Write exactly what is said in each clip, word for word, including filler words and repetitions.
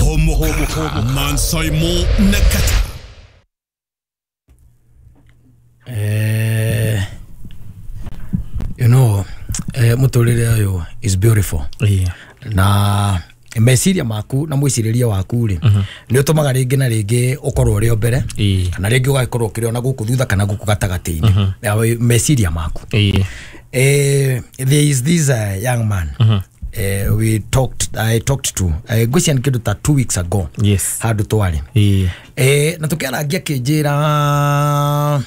Homoka Mansaimo Nakata. Eh, you know, eh, muturire uyu is beautiful. Yeah. Na meciria maku na mwiciriria waku ri ni utumaga ringi na ringi ukorwo uri mbere kana ringi ugakorwo ukiriona guku thutha kana guku gatagati-ini meciria maku. Eh, there is this uh, young man. Mm -hmm. Uh, we talked I talked to uh, ngwiciria kindu ta two weeks ago. Yes. Handu twari. Yeah. Eh, na tukiarangia kinjira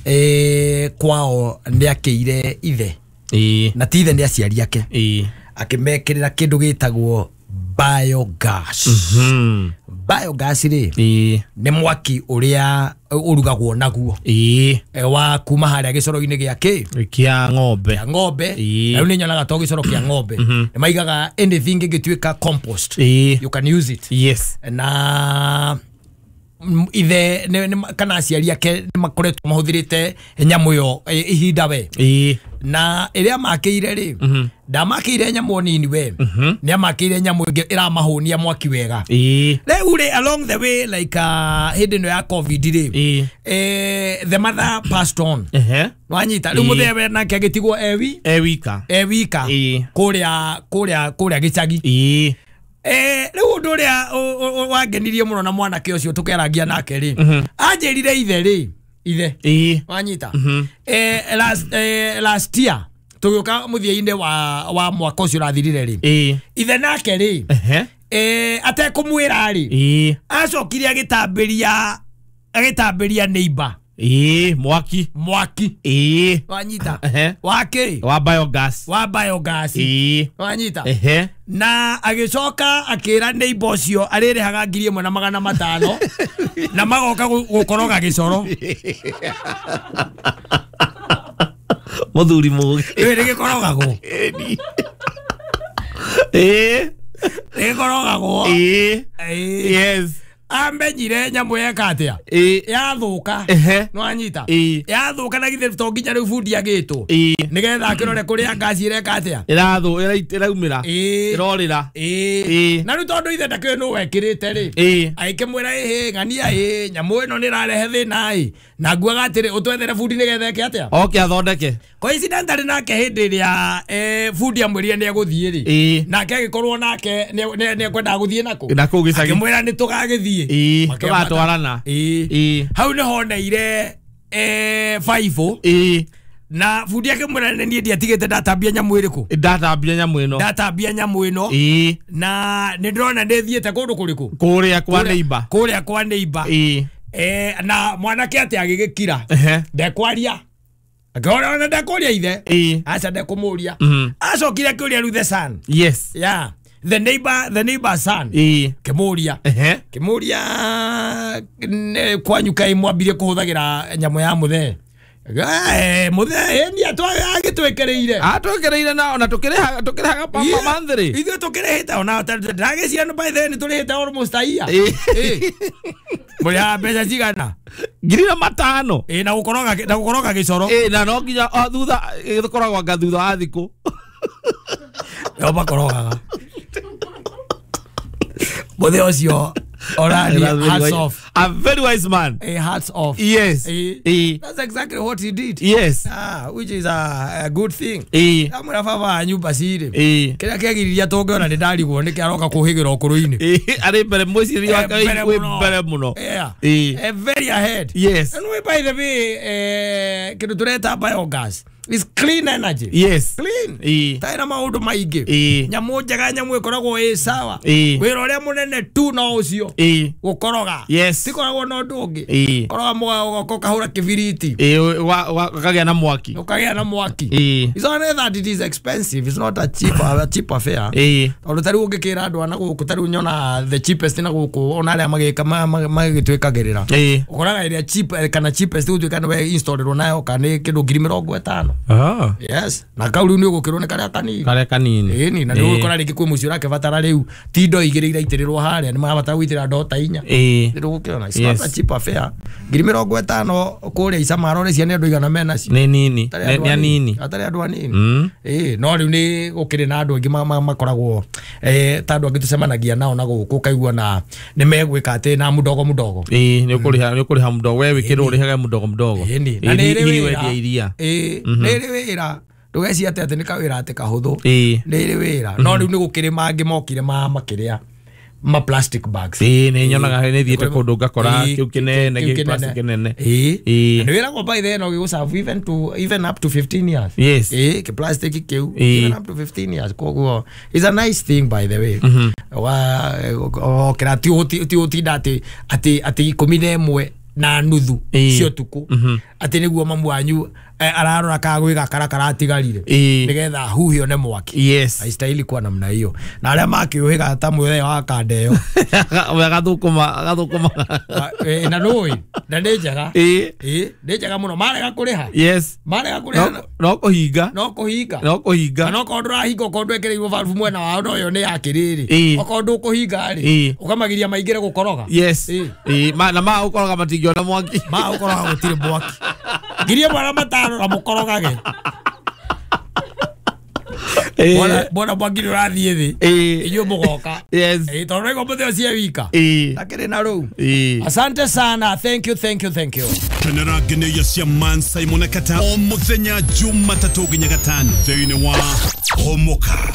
eh kwao ni akiire ithe. Eh. Na ti ithe ni aciari ake. Eh. Akimekirira kindu gitagwo biogas. Mm-hmm. Biogas ri eh ni mwaki uria urugagwo naguo. Eh. Wa kuma haria gicoro-ini gia ki kia ng'ombe. Kia ng'ombe. Riu ni nyonaga to gicoro kia ng'ombe. Ni maigaga anything ingituika compost. E. You can use it. Yes. Na ithe ne, kana aciari ake ni makoretwo mahuthirite nyamu yo ihinda we. Eh. Na iria makeire ri ndamakeire nyamu nini we. Ni amakeire nyamu ingi iramahunia mwaki wega. Eh. Riu ri along the way like uh, hindi no ya covid ri. Eh. Eh, the mother passed on. Eh. Wanyita riu muthewe nake agitigwo ewi ewika. Ewika. Kuria kuria kuria gicagi. Eh. Eh, riu undu uria wangenirie muno na mwanake ucio tukerangia nake ri. Anjirire ithe ri. Ithe. Eh. Wanyita. Eh, last eh, last year tugiuka muthia-ini wa wa mwaka ucio urathirire ri. Eh. Ithe nake ri. Eh. Eh, atekumwira ri. Eh. Acokire agitambiria agitambiria neighbor. Eh, mwaki. Mwaki. Eh. Wanyita. Eh. Wake. Wa biogas. Wa biogas. Eh. Wanyita. Eh. Na agicoka akira neighbor ucio arĩrĩhaga ngiri ĩmwe na magana matano na magoka gukoroga gicoro. Muthuri mugi. Ĩ nĩgĩkorogagwo. Eh. Nĩgĩkorogagwo. Eh. Yes. Amenyire nyamu yeka atia yathuka nwanyita yathuka na githe to nginya riu bundi agitwo nigetha akirore kuria ngaci ireka atia irathu iraumira irorira. Na riu tondu ithe ndakĩũĩ nũ wekirite ri agĩkĩmwĩra ĩhĩ ng'ania ĩ nyamu ĩno nĩ ĩrarehe thĩna ĩ na nguaga atĩrĩ ũtwethere bundi nigetha eke atia oke athondeke. Coincidentally nake hĩndĩ ĩrĩa bundi amwĩrire nĩ egũthiĩ rĩ nake agĩkorwo nake nĩ ekwendaga gũthiĩ nakũ nakũu gĩcagi akĩmwĩra nĩ tũgagĩthiĩ. Ĩĩ, tũgatwarana. Ĩĩ. Hau nĩho oneire eh five. Ĩĩ. Na bundi akĩmwĩra nĩ niĩ ndiatigĩte ndatambia nyamu ĩrĩkũ. Ndatambia nyamu ĩno. Ndatambia nyamu ĩno. Ĩĩ. Na nĩ ndĩrona nĩ thiĩte kũndũ kũrĩkũ? Kũrĩa kwa neighbor. Kũrĩa kwa neighbor. Ĩĩ. Eh, na mwanake atĩ agĩgĩkira. Ndekwaria. Akĩona ona ndekũria ithe. Ĩĩ. Aca ndekũmũria. Acokire akĩũria rĩu the son. Yes. Yeah. The neighbor, the neighbor son. Eh. Kimuria. Eh. Kimuria kwanyu kai mwambirie kuhuthagira nyamu ya muthe. Eh, muthe eh ni atwa agitwekereire. Atwekereire na ona tukirihaga tukirihaga pa monthly. Ithuĩ tukirihite ona ndagĩciria no by then turihite almost a year. Eh. Mũrĩhaga mbeca cigana? Ngiri na matano. Eh, na gukoroga na gukoroga gicoro. Eh, na no nginya thutha gĩkoragwo anga thutha wa thikũ. Yo makorogaga. Muthe ucio already hats off. A very wise man. A hats off. Yes. Eh. Eh. That's exactly what he did. Yes. Ah, which is a, a good thing. Eh. Amwira baba nyumba cire. Eh. Kiria kiagiriria tungiona ni ndarigwo ni kiaroka kuhigira ukuruini. Eh, ari mbere mwiciri wake wi mbere muno. Yeah. Eh. Eh, very ahead. Yes. And we by the way eh kindu tureta biogas. It's clean energy. Yes. Clean. Eh. Taina maundu maingi. Eh. Nyamu njega nyamu ikoragwo ĩ sawa. Eh. Wĩra ũrĩa mũnene tu no ũcio. Eh. Gũkoroga. Yes. Tikoragwo na ũndũ ũngĩ. Eh. Koroga mũga ũgakahũra kĩbiriti. Eh, ũkagĩa na mwaki. Ũkagĩa na mwaki. Eh. It's only that it is expensive. It's not a cheap a cheap affair. Eh. Tondũ ta rĩu ũngĩkĩra andũ a na gũkũ ta rĩu nyona the cheapest na gũkũ ona arĩa magĩka magĩtwĩkagĩrĩra. Eh. Ũkoraga ĩrĩa cheap kana cheapest gũtuĩka nĩwe installĩrwo nayo kana nĩ kĩndũ ngiri mĩrongo ĩtano. Ah. Yes. Na kau riu ni ugukirwo ni karia kanini. Karia kanini. Ĩni na ni ugukora ringi kwi mucio urakibatara riu ti ndo igiri iraitirirwo haria ni marabatara guitira ndo ta inya. Ĩĩ. Nĩ ndũgũkĩona. Nĩũrakĩona it's not a cheap affair ngiri mĩrongo ĩtano kũrĩa Isamaro cia nĩ andũ igana mena cio nĩ nini nĩ anini atarĩ andũ anini ĩĩ no rĩu nĩ gũkĩrĩ na andũ aingĩ makoragwo eh ta andũ angĩ tũcemanagia nao na gũkũ ũkaigua na nĩ megwĩka atĩ na mũdogo mũdogo ĩĩ nĩ ũkũrĩha nĩ ũkũrĩha mũdogo we wĩkĩrwo ũrĩhaga mũdogo mũdogo ĩĩ na nĩ ĩrĩ wĩra iria ĩĩ nĩ ĩrĩ wĩra ndũgeciria atĩ atĩ nĩ kawĩra atĩ kahũthũ ĩĩ nĩ ĩrĩ wĩra no rĩu nĩ gũkĩrĩ mangĩ mokire ma makĩrĩa ma plastic bags ĩĩ nĩ nyonaga nĩ thiĩte kũndũ ngakora kĩu kĩnene kĩu plastic kĩnene ĩĩ nĩ wĩragwo by then no gĩgũserve even to even up to fifteen years yes ĩĩ kĩ plastic kĩu even up to fifteen years koguo is a nice thing by the way wa okera ti ti ũtinda atĩ atĩ atĩ ikũmi na ĩmwe na nuthu cio tuku atĩ nĩguo mamu wanyu ararora kagwe gakara karatigarire nigetha huhio ne mwaki yes aistahili kuwa namna hiyo na aria makiuhiga ta mwethe wa kandeo we agathukuma agathukuma na nui na nĩ njega ĩĩ ĩĩ nĩ njega mũno marega kũrĩha yes marega kũrĩha no kũhinga no kũhinga no kũhinga no korwo ndũrahinga okorwo ndwekĩrĩirwo valve mwena wao no yo nĩ ya kĩrĩrĩ okorwo ndũkũhinga rĩ ũkamagiria maingĩre gũkoroga yes ĩĩ na ma ũkoroga matingĩona mwaki ma ũkoroga gũtirĩ mwaki ngiri ĩmwe na matano na mũkorogage bwana mwaki nĩ ũrathiĩ thĩ inyuĩ mũgoka yes tondũ nĩguo mũthĩ ũcio wika takĩrĩ na rũu asante sana thank you thank you thank you kenera ngeneia cia Man Simon Kata o mũthenya Jumatatũ nginya gatano thĩinĩ wa Homoka.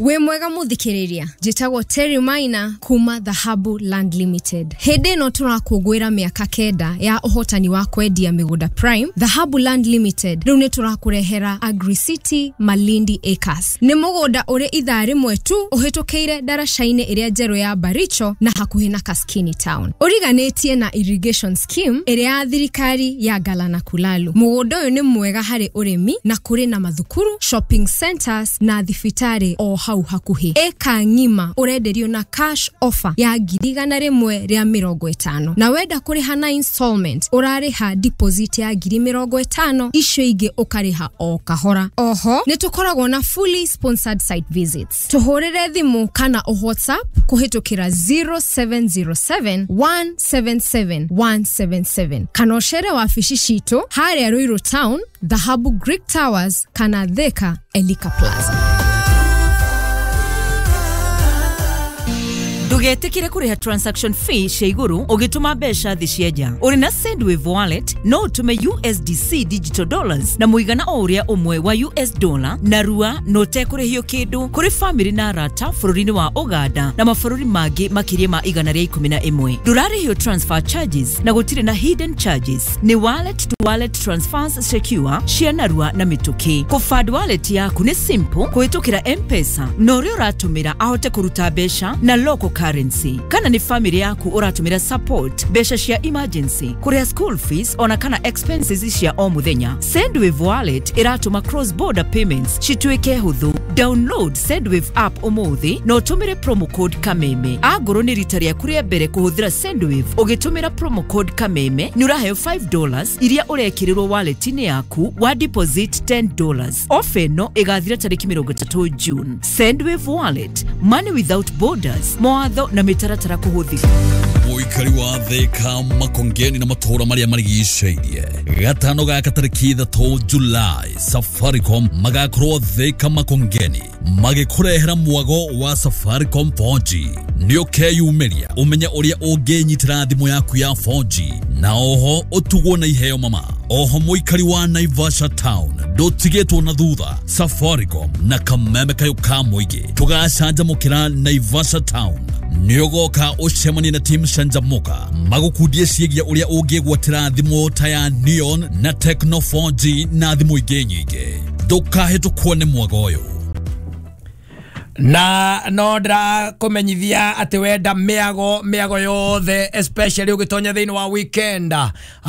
Wĩ mwega mũthikĩrĩria njĩtagwo Terry Maina kuma Dhahabu Land Limited. Hĩndĩ ĩno tũrakũngũĩra mĩaka kenda ya ũhotani wa kwendia mĩgũnda Prime. Dhahabu Land Limited rĩu nĩ tũrakũrehera Agri City Malindi Acres. Nĩ mũgũnda ũrĩ ithaa rĩmwe tu ũhĩtũkĩire ndaraca-inĩ ĩrĩa njerũ ya Baricho na hakuhĩ na Kaskini Town. Ũriganĩtie na irrigation scheme ĩrĩa ya thirikari ya Galana Kulalu. Mũgũnda ũyũ nĩ mwega harĩ ũrĩmi na kũrĩ na mathukuru, shopping centers na thibitarĩ o hau hakuhĩ. Eka ng'ima ũrenderio na cash offer ya ngiri igana rĩmwe rĩa mĩrongo ĩtano na wenda kũrĩha na installment ũrarĩha deposit ya ngiri mĩrongo ĩtano icio ingĩ ũkarĩha o kahora. Oho nĩ tũkoragwo na fully sponsored site visits. Tũhũrĩre thimũ kana o WhatsApp kũhĩtũkĩra zero seven zero seven one seven seven one seven seven kana ũcere wabici citũ harĩa Ruiru Town, Dhahabu Greek Towers kana Thika Elika Plaza. Ndugetikire kuriha transaction fee cia iguru ugituma mbeca thi cia nja. Uri na Sendwave wallet no utume U S D C digital dollars na muigana o uria umwe wa U S dollar na rua no tekurihio kindu kuri family na arata bururi-ini wa Uganda na mabururi mangi makiria ma igana ria ikumi na imwe. Ndurarihio transfer charges na gutiri na hidden charges. Ni wallet to wallet transfers secure cia narua na mituki. Kufund wallet yaku ni simple kuhitukira M-Pesa na uria uratumira ahote kuruta mbeca na local currency. Kana ni family yaku uratumira support mbeca cia emergency kuria school fees ona kana expenses cia o muthenya. Sendwave wallet iratuma cross border payments cituike huthu. Download Sendwave app umuthi na utumire promo code Kameme. Angorwo ni rita riaku ria mbere kuhuthira Sendwave ugitumira promo code Kameme ni uraheo five dollars iria urekirirwo wallet-ini yaku wa deposit ten dollars. Ofa ino igathira tariki mirongo itatu June. Sendwave wallet, money without borders. Mawatho na mitaratara kuhuthika. Mũikari wa Thika Makongeni na matũũra marĩa marigicĩirie gatano gaka tarĩki ithatũ July Safaricom magakorwo Thika Makongeni magĩkũrehera mwago wa Safaricom four G. Nĩ ũkeyumĩria ũmenye ũrĩa ũngĩnyitĩra thimũ yaku ya four G na oho ũtugwo na iheo mama. Oho mũikari wa Naivasha Town ndũtigĩtwo na thutha. Safaricom na kameme kayũ ka mũingĩ tũgacanjamũkĩra Naivasha Town. Nĩũgoka ũcemanie na team Canjamuka magũkundie ciĩgiĩ ũrĩa ũngĩgwatĩra thimũ ta ya Neon na Tecno four G na thimũ ingĩ nyingĩ. Ndũkahĩtũkwo nĩ mwago ũyũ. Na no ndra kũmenyithia atĩ wenda mĩago mĩago yothe especially ũgĩtonya thĩinĩ wa weekend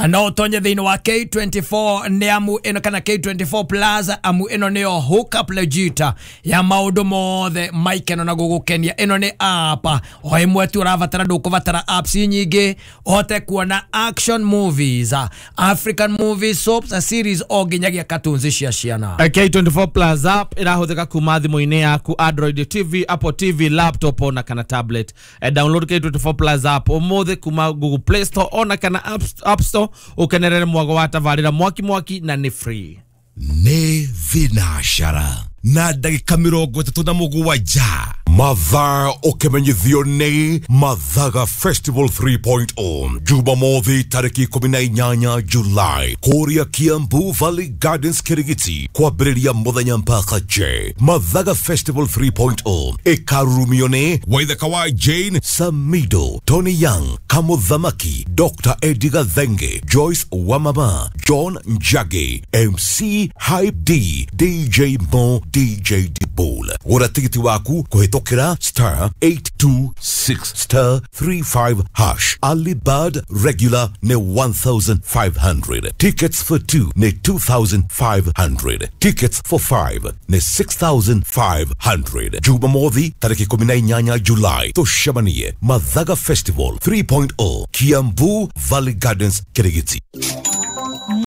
no ũtonye thĩinĩ wa K twenty-four nĩ amu ĩno kana K twenty-four plus amu ĩno nĩyo hook up legit ya maũndũ mothe maikeno na gũgũkenia. Ĩno nĩ app o ĩmwe tu ũrabatara, ndũkũbatara apps nyingĩ ũhote kuona action movies, African movies, soaps, series o nginyagia cartoons cia ciana. K twenty-four plus app ĩrahũthĩka kuma thimũ-inĩ yaku Android Radio T V, Apple T V, laptop ona kana tablet. E, download K twenty-four Plus app umuthi kuma Google Play Store ona kana App, App Store ukenerere mwago wa tabarira mwaki mwaki na ni free. Nĩ thinashara na ndagĩka mĩrongo ĩtatũ na mũgwanja mathaa ũkĩmenyithio nĩ Mathaga Festival three point oh Jumamothi tarĩki ikũmi na inyanya July kũrĩa Kiambu Valley Gardens Kirigiti kwambĩrĩria mũthenya mpaka J. Mathaga Festival three point oh ĩkarurumio nĩ Waithaka wa Jane Samido, Tony Young, Kamuthamaki, Doctor Eddie Gathenge, Joyce Wamama, John Njagi, M C Hype D, D J Mo, D J Dibol. Gũra tigiti waku kũhĩtũkĩra star eight two six star three five hash. Early bird regular nĩ one thousand five hundred. Tickets for two nĩ two thousand five hundred. Tickets for five nĩ six thousand five hundred. Jumamothi tarĩki ikũmi na inyanya July tũcemanie Mathaga Festival three point oh Kiambu Valley Gardens Kirigiti.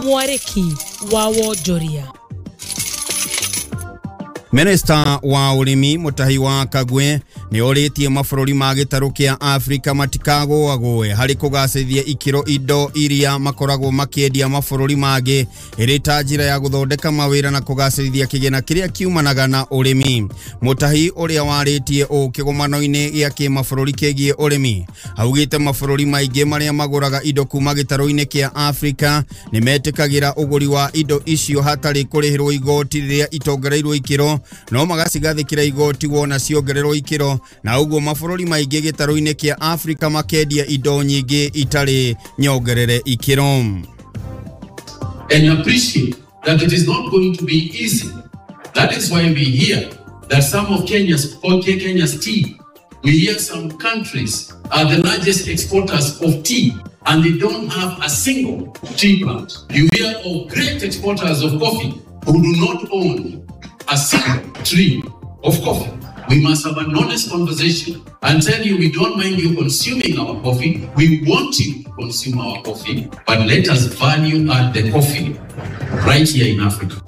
Mwarĩki wa wonjoria. Minista wa ũrĩmi Mutahi wa Kagwe nĩ orĩtie mabũrũri ma gĩtarũ kĩa Afrika matikagũagũe harĩ kũgacĩrithia ikĩro indo iria makoragwo makĩendia mabũrũri mangĩ ĩrĩ ta njĩra ya gũthondeka mawĩra na kũgacĩrithia kĩgĩna kĩrĩa kiumanaga na ũrĩmi. Mutahi ũrĩa warĩtie ũũ kĩgomano-inĩ gĩa kĩmabũrũri kĩgiĩ ũrĩmi augĩte mabũrũri maingĩ marĩa magũraga indo kuma gĩtarũ-inĩ kĩa Afrika nĩ metĩkagĩra ũgũri wa indo icio hatarĩ kũrĩhĩrwo igoti rĩrĩa itongereirwo ikĩro no magacigathĩkĩra igoti wona ciongererwo ikĩro na ũguo mabũrũri maingĩ gĩtarũ-inĩ kĩa Afrika makendia indo nyingĩ itarĩ nyongerere ikĩro. And appreciate that it is not going to be easy. That is why we hear that some of Kenya's, okay, Kenya's tea, we hear some countries are the largest exporters of tea and they don't have a single tea plant. You hear of great exporters of coffee who do not own a single tree of coffee. We must have an honest conversation and tell you we don't mind you consuming our coffee. We want you to consume our coffee, but let us value add the coffee right here in Africa.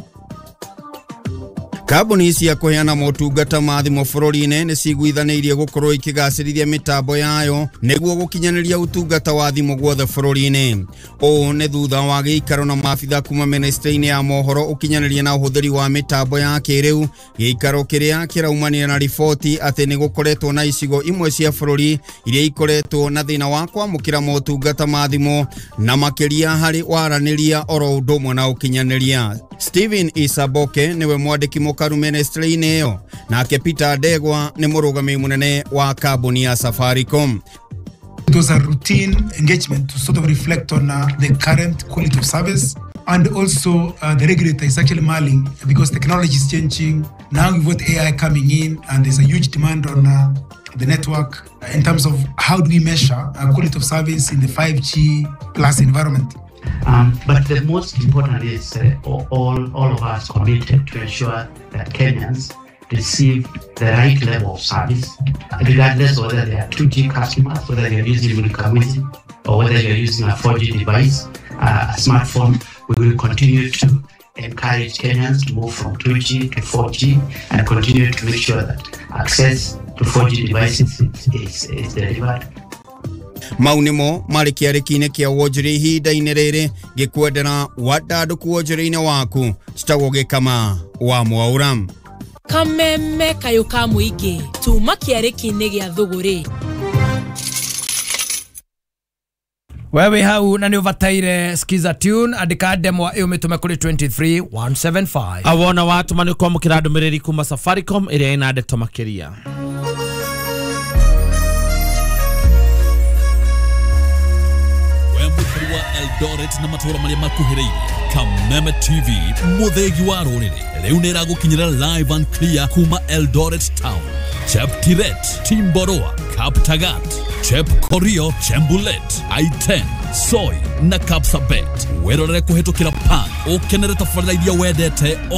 Kambuni cia kũheana motungata ma thimũ bũrũri-inĩ nĩ ciguithanĩirie gũkorwo ikĩgacĩrithia mĩtambo yayo nĩguo gũkinyanĩria ũtungata wa thimũ guothe bũrũri-inĩ. Ũũ nĩ thutha wa gĩikaro na maabitha kuma ministry-inĩ ya mohoro ũkinyanĩria na ũhũthĩri wa mĩtambo ya kĩrĩu, gĩikaro kĩrĩa kĩraumanire na riboti atĩ nĩ gũkoretwo na icigo imwe cia bũrũri iria ikoretwo na thĩna wa kwamũkĩra motungata ma thimũ na makĩria harĩ waranĩria oro ũndũ ũmwe na ũkinyanĩria. Steven Isaboke niwe mwandĩki mũkaru ministry-inĩ ĩyo, nake Peter Ndegwa nĩ mũrũgamĩrĩri mũnene wa kambuni ya Safaricom. It was a routine engagement to sort of reflect on uh, the current quality of service, and also uh, the regulator is actually mulling because technology is changing. Now we've got A I coming in and there's a huge demand on uh, the network in terms of how do we measure uh, quality of service in the five G plus environment. Um, but the most important is uh, all, all of us committed to ensure that Kenyans receive the right level of service, regardless whether they are two G customers, whether they are using Mulika Mwizi, or whether they are using a four G device, uh, a smartphone. We will continue to encourage Kenyans to move from two G to four G and continue to make sure that access to four G devices is, is, is delivered. Mau nĩmo marĩ kĩarĩki-inĩ kĩa wonjoria ihinda-inĩ rĩrĩ ngĩkwendera wandandũku wonjoria-inĩ waku citagwo Gĩkama wa Mwaura. Kameme kayũ ka mũingĩ tuma kĩarĩki-inĩ gĩa thũgũrĩ. Wewe hau na nĩ ũbataire skiza tune andĩka ndemwa ĩyo mĩtũme kũrĩ two three one seven five. Awona watũma nĩ kwamũkĩra ndũmĩrĩri kuma Safaricom ĩrĩa ĩna ndeto makĩria. Eldoret na matũra marĩa makuhĩrĩirie Kameme T V mũthĩgi wa rũrĩrĩ rĩu nĩ ĩragũkinyĩra live and clear kuma Eldoret Town, Cheptiret, Timboroa, Kaptagat, Chepkorio, Chembulet, I ten, Soi na Kapsabet. Wĩrorere kũhĩtũkĩra pan ũkenere tabarĩra iria wendete o